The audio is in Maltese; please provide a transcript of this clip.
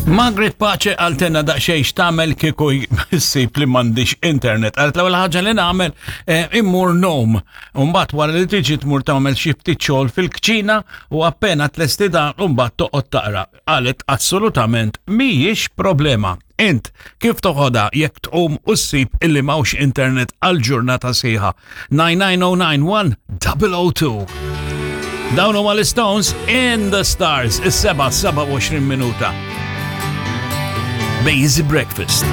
Margaret Pace għaltenna daqxej x'tagħmel kieku ssib li m'għandix internet. Għalt l-ewwel ħaġa li nagħmel eh, immur nom. Mbagħad wara li tiġi tmur tagħmel xi ftit xogħol fil-kċina u appena tlesti dan u mbagħad toqgħod taqra. Qalet assolutament mhijiex problema. Int kif toħodha jekk tqum u ssib illi m'hawnx internet għal ġurnata sħiħa? 99091 002. Dawn huma l-Stones in the Stars, is-7 27 minuta. Basic Breakfast.